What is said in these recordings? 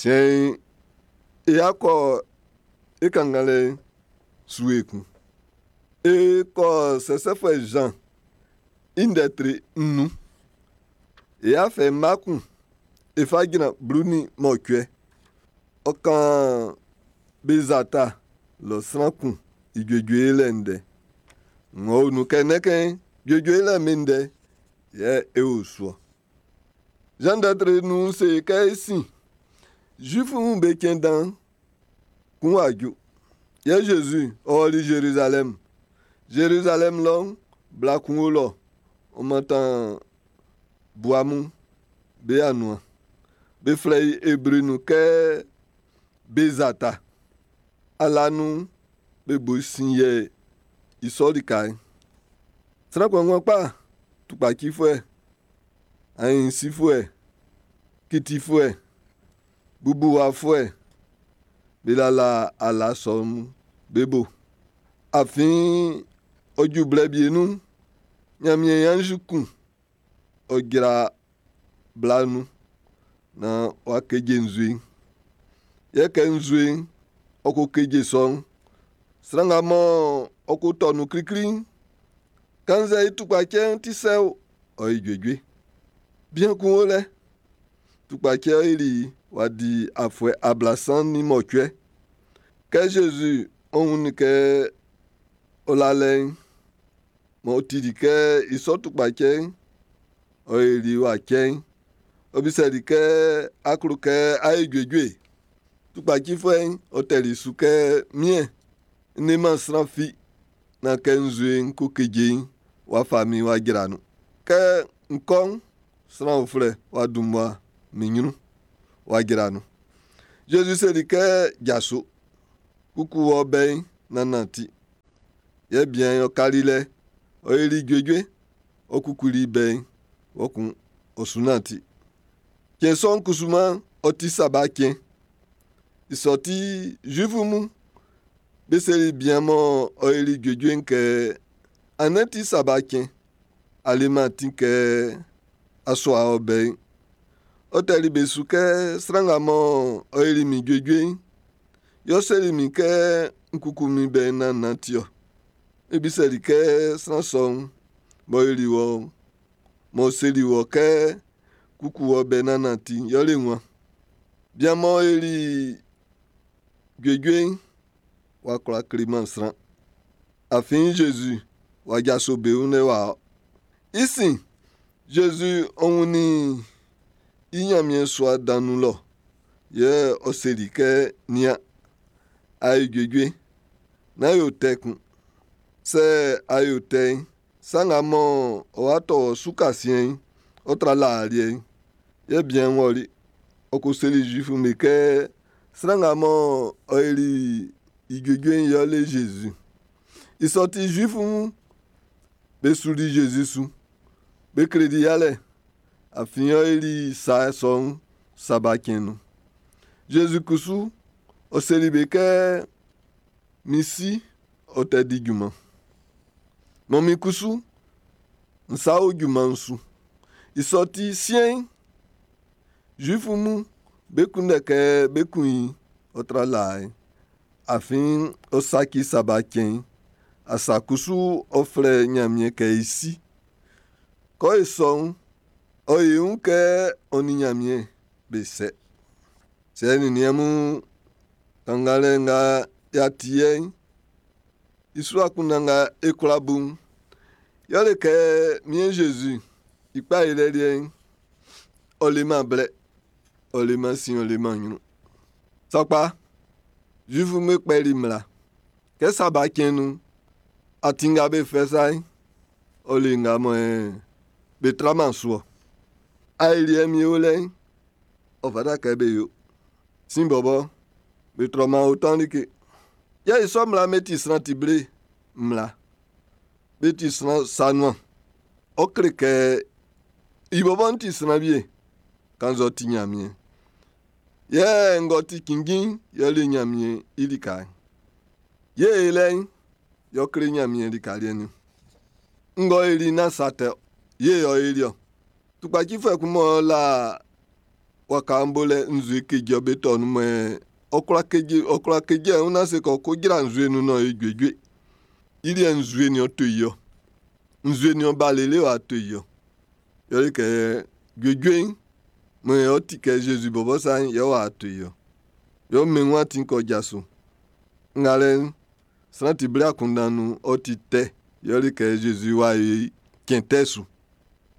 Siɛn'n, e a kɔ e kannganlɛ'n su ekun. E kɔ Sɛsɛfuɛ Zan i ndɛ tre 5. E a fɛ mma kun e fa jran 18. Ɔ kan Bezata lɔ sran kun i juejue yolɛ ndɛ. Ng'ɔ o nun kɛ nɛkɛn juejue yolɛ'n be ndɛ yɛ e o su ɔ. Zan ndɛ tre nun'n se kɛ i sin, Zuifu'm be cɛn dan kun w'a ju. Yɛ Zezi ɔ ɔli Zerizalɛm. Zerizalɛm lɔ'n, bla kun o lɔ, ɔ mantan bua mun be anuan. Be flɛ i Ebre nun kɛ Bezata. Ala nun'n, be bo sin yɛ i sɔ lika'n. Sran kpanngban kpa, tukpacifuɛ, aɲinsifuɛ, kitifuɛ, bubuwafuɛ, be lala ala sɔ'm be bo. Afin ɔ ju blɛ wie nun'n, Ɲanmiɛn i anzi kun ɔ jra bla nun naan w'a keje nzue'n. Yɛ kɛ nzue'n ɔ ko keje sɔ'n, sran nga mɔ ɔ ko tɔ nun klikli'n, kannzɛ i tukpacɛ'n ti sɛ o, ɔ yi juejue. Bian kun o lɛ, tukpacɛ yoli w'a di afuɛ 38. Kɛ Zezi ɔ wunnin kɛ ɔ la lɛ'n, m'ɔ tili kɛ i sɔ tukpacɛ'n ɔ yoli w'a cɛ'n, ɔ bisɛli kɛ, a klo kɛ á yó juejue? Tukpacifuɛ'n ɔ tɛli su kɛ, Miɛn, n leman sran fi naan kɛ nzue'n ko keje'n, w'a fa min w'a jra nun. Kɛ n kɔ'n, sran uflɛ w'a dun mmua min ɲrun w'a jra nun. Zezi seli kɛ, jaso, kuku wɔ bɛ'n naan nanti. Yɛ bian'n ɔ kali lɛ, ɔ yoli juejue, ɔ kukuli i bɛ'n, kpɔkun ɔ su nanti. Cɛn sɔ'n kusuman ɔ ti Saba cɛn. I sɔ ti Zuifu mun be seli bian mɔ ɔ yoli juejue'n kɛ, andɛ ti Saba cɛn. A leman atin kɛ a sua ɔ bɛ'n. Ɔ tɛli be su kɛ, sran nga mɔ ɔ yoli min juejue'n, yɛ ɔ seli min kɛ n kuku min bɛ'n naan nanti ɔ. Be bisɛli kɛ sran sɔ'n m'ɔ yoli wɔ m'ɔ seli wɔ kɛ kuku wɔ bɛ'n naan nanti, yɛle wan? Bian m'ɔ yoli juejue'n w'a kwlá kleman sran. Afin Zezi w'a jaso be wun lɛ w'a ɔ. I sin, Zezi ɔ wunnin i Ɲanmiɛn sua dan nun lɔ. Yɛ ɔ seli kɛ, nian, a yo juejue, nán yo tɛ kun. Sɛ a yo tɛ'n, sa nga mɔ ɔ wa tɔ wɔ su kasiɛn'n, ɔ tra laa liɛ'n. Yɛ bian'n wɔli. Ɔ ko seli Zuifu'm be kɛ, sran nga mɔ ɔ yoli i juejue'n yɛle Zezi. I sɔ ti Zuifu'm be suli Zezi su. Be kleli yalɛ, afin ɔ yoli sa sɔ'n Saba cɛn'n nun. Zezi kusu, ɔ seli be kɛ, min si ɔ tɛ di junman. Mɔ min kusu, n sa o junman'n su. I sɔ ti siɛn'n, Zuifu mun be kunndɛ kɛ bé kún i ɔ tra laa'n. Afin ɔ saci Saba cɛn'n. Asa kusu ɔ flɛ Ɲanmiɛn kɛ i si. Kɔ e sɔ'n, ɔ yi wun kɛ ɔ nin Ɲanmiɛn be sɛ. Sɛ nin niɛn mun kannganlɛ nga y'a ti yɛ'n, i su akunndan nga e kwla bu'n, yɛle kɛ Miɛn Zezi i kpa yolɛ liɛ'n, ɔ leman blɛ, ɔ leman sin, ɔ leman ɲrun. Sakpa, Zuifu'm be kpɛli mmla. Kɛ Saba cɛn nun'n, atin nga be fɛ sa'n, ɔ le nga mɔ be traman su ɔ. Aeliɛ mi o lɛ'n, ɔ fata kɛ be yo. Sin bɔbɔ, be trɔman otan like. Yɛ i sɔ mmla be ti sran ti ble mmla. Be ti sran sa nuan. Ɔ kle kɛ i bɔbɔ'n ti sran wie, kannzɛ ɔ ti Ɲanmiɛn. Yɛ ng'ɔ ti cinnjin'n yɛle Ɲanmiɛn i lika'n. Ye e lɛ'n, yɛ ɔ kle Ɲanmiɛn lika liɛ'n niɔn. Ng'ɔ yoli nán sa tɛ ɔ, ye ɔ yoli ɔ. Tukpacifuɛ kun m'ɔ la waka'n bo lɛ nzue keje be tɔ nun mɔ ɔ kwla keje, ɔ kwla keje ɛun na se kɔ ko jra nzue nun nɔ e juejue. I liɛ nzue ni ɔ to i ɔ. Nzue ni ɔ ba lele w'a to i ɔ. Yɛle kɛ juejue'n, mɔ ɔ ti kɛ Zezi bɔbɔ sa'n, yɛ w'a to i ɔ. Yɛ ɔ mɛn wun atin kɔ jaso. Ngalɛ'n, sran ti ble akunndan nun ɔ ti tɛ. Yɛle kɛ Zezi w'a yi cɛn tɛ su.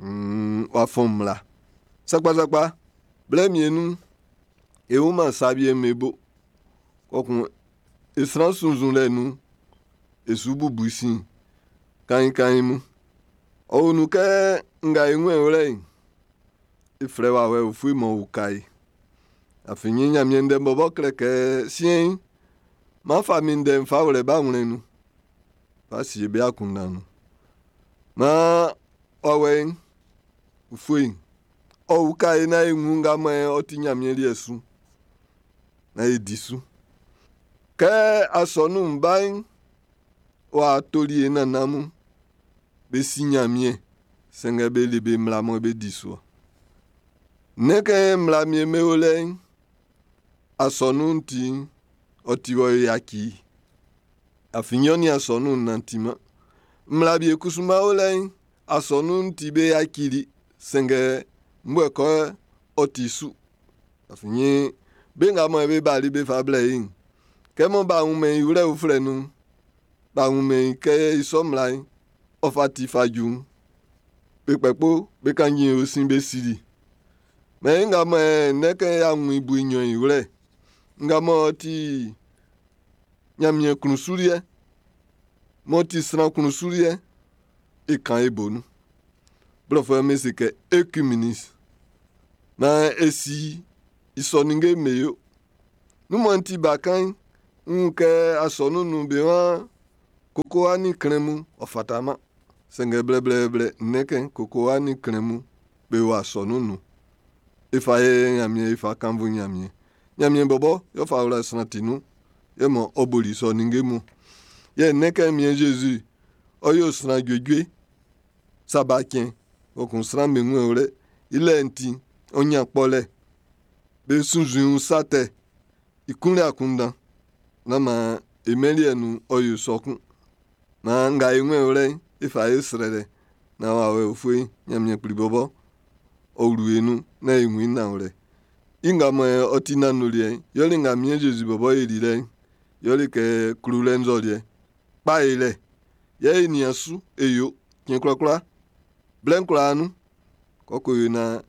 W'a fɔn mmla. Sakpasakpa, blɛ mie nun, e wunman sa wie me bo. Kɔkun e sran sunnzunlɛ nun, e su bubu sin kainkain mun. Ɔ wun nun kɛ nga e wun wlɛ'n, e flɛ wawɛ ufue m'ɔ uka e. Afin Ɲanmiɛn ndɛ'n bɔbɔ kle kɛ siɛn'n, m'an fa min ndɛ'n fa wlɛ ba wlɛ nun. Fa sie be akunndan nun. Maan wawɛ'n ufue'n, ɔ uka e naan e wun nga mɔ ɔ ti Ɲanmiɛn liɛ su. Naan e di su. Kɛ asɔnun'n ba'n, w'a toli e nannan mun. Be si Ɲanmiɛn, sanngɛ be le be mmla mɔ be di su ɔ. Nnɛn kɛ mmla mie me o lɛ'n, asɔnun'n ti'n, ɔ ti wɔ yaci. Afin ɔ nin asɔnun'n nantiman. Mmla wie kusuman o lɛ'n, asɔnun'n ti be yacili, sanngɛ mbue kɔ ɔ ti su. Afin be nga mɔ be bali be fa blɛ i'n, kɛ mɔ b'a wunmɛn i wlɛ uflɛ nun'n, b'a wunmɛn i kɛ i sɔ mmla'n, ɔ fa ti fa ju'n. Be kpɛkpo be kanjin o sin be sili. Mɛ nga mɔ nnɛn kɛ y'a wun i bue nɲɔn i wlɛ. Nga mɔ ɔ ti Ɲanmiɛn klun su liɛ, m'ɔ ti sran klun su liɛ, e kan e bo nun. Blɔfuɛ'm be se kɛ œcuménisme. Naan e si i sɔ ninnge me yo. Nun mɔ n ti bakan'n, n wun kɛ asɔnun'n nun be waan kokowa nin klɛn mun ɔ fataman. Sanngɛ blɛblɛblɛ nnɛn kɛ kokowa nin klɛn mun be wɔ asɔnun'n nun. E fa ye Ɲanmiɛn e fa kannvu Ɲanmiɛn. Ɲanmiɛn bɔbɔ yɛ ɔ fa wla sran ti nun. Yɛ mɔ ɔ boli sɔ ninnge mun. Yɛ nnɛn kɛ miɛn Zezi, ɔ yo sran juejue. Saba cɛn, kpɔkun sran be wun wlɛ. I lɛ'n ti, ɔ ɲan kpɔlɛ. Be sunnzun sa tɛ. I kunlɛ akunndan. Nán maan e mɛn liɛ nun ɔ yo sɔ kun. Maan nga e wun wlɛ'n, e fa e srɛlɛ. Naan wawɛ ufue'n, Ɲanmiɛn kpli bɔbɔ, ɔ wlu e nun naan e wun i nanwlɛ. I nga mɔ ɔ ti nanwlɛ'n, yɛle nga miɛn Zezi bɔbɔ e li lɛ'n. Yɛle kɛ klolɛ nzɔliɛ. Kpa e lɛ. Yɛ e nian su e yo cɛn kwlakwla. Blɛ'n kwlaa nun. Kɔkɔ yo naan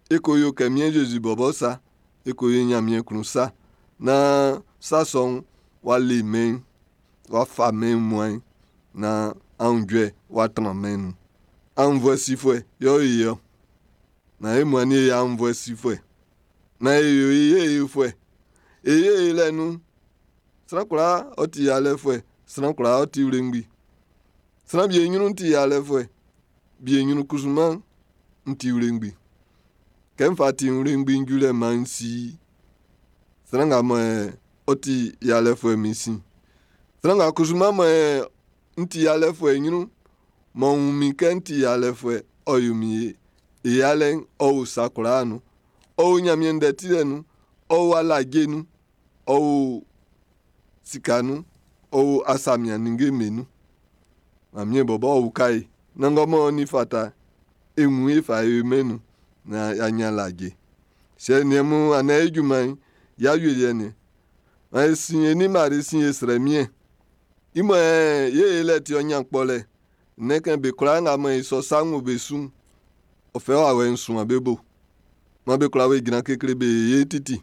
e ko yo kɛ miɛn Zezi bɔbɔ sa. E ko yo Ɲanmiɛn klun sa. Naan sa sɔ'n w'a le mɛn'n, w'a fa mɛn'n muae. Naan aunjuɛ w'a tran mɛn'n nun. Aunnvuɛ sifuɛ yɛ ɔ ye ɔ. Naan e muan e aunnvuɛ sifuɛ. Naan e yo e ye yofuɛ. E ye lɛ nun. Sran kwlaa ɔ ti yalɛfuɛ. Sran kwlaa ɔ ti wlengbi. Sran wie ɲrun ti yalɛfuɛ. Wie ɲrun kusuman n ti wlengbi. Kɛ n fa ti wlengbi n ju lɛ man n si sran nga mɔ ɔ ti yalɛfuɛ min sin. Sran nga kusuman mɔ n ti yalɛfuɛ ɲrun, mɔ wun min kɛ n ti yalɛfuɛ, ɔ yo min ye. E yalɛ'n, ɔ o sa kwlaa nun. Ɔ o Ɲanmiɛn ndɛ tilɛ nun, ɔ o alaje nun, ɔ o sika nun, ɔ o asamian ninnge'm be nun. Ɲanmiɛn bɔbɔ ɔ uka e. Naan ngɔ ni fata e wun e fa e mɛn nun naan y'a ɲan alaje. Sɛ niɛn mun anaa e junman'n, y'a wie liɛ nin. Maan e sin e ni Mari sin e srɛ miɛn. I mɔ ye e lɛ ti ɔ ɲan kpɔlɛ. Nnɛn kɛ be kwlaa nga mɔ i sɔ sa ng'ɔ be su'n, ɔ fɛ wawɛ'n suan be bo. Man be kwlaa be jran kekle be ye titi.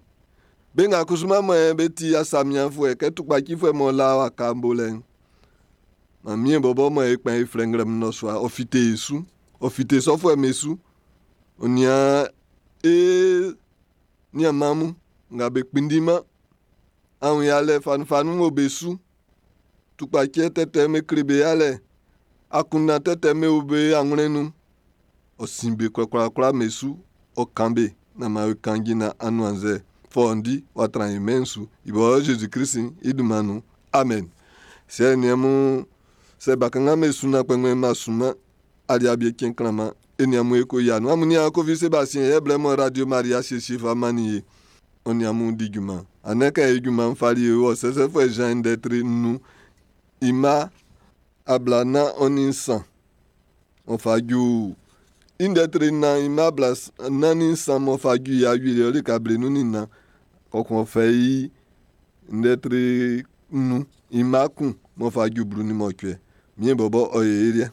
Be nga kusuman mɔ be ti asamianfuɛ kɛ tukpacifuɛ mɔ la waka bolɛ'n. Ɲanmiɛn bɔbɔ mɔ e kpɛn e flɛ nglɛmun nnɔsua, ɔ fite e su. Ɔ fite sɔfuɛ'm be su. Ɔ nian e nianman mun nga be kpinndinman. Awun yalɛ fanunfanun o be su. Tukpacɛ tɛtɛ me kle be yalɛ. Akunndan tɛtɛ me o be anwlɛn nun. Ɔ sin be kwlakwlakwla me su. Ɔ kan be naan man e kan jina anuannzɛ fɔundi w'a tran e mɛn'n su. I bɔ Zezi Klisi i dunman nun. Amen. Sɛ niɛn mun sɛ bakanngan be su na kpɛngbɛn ma suma aliabie cɛn klanman. E nin amun e ko yia nun. Amun niaan Kofi Sebastien yɛ blɛ mɔ Radio Maria siesie fa mannin e, ɔ nin amun di junman. Andɛ kɛ e junman'n fali e wɔ Sɛsɛfuɛ Jean ndɛ tre nnun i mma ablanan ɔ nin nsan, ɔ fa ju i ndɛ tre nnan i mma ablanan nin nsan m'ɔ fa ju i awieliɛ lika blenun nin nnan, kpɔkun ɔ fɛ i ndɛ tre nnun i mma kun m'ɔ fa ju blu nin mɔcuɛ. Mie bɔbɔ ɔ ye e liɛ.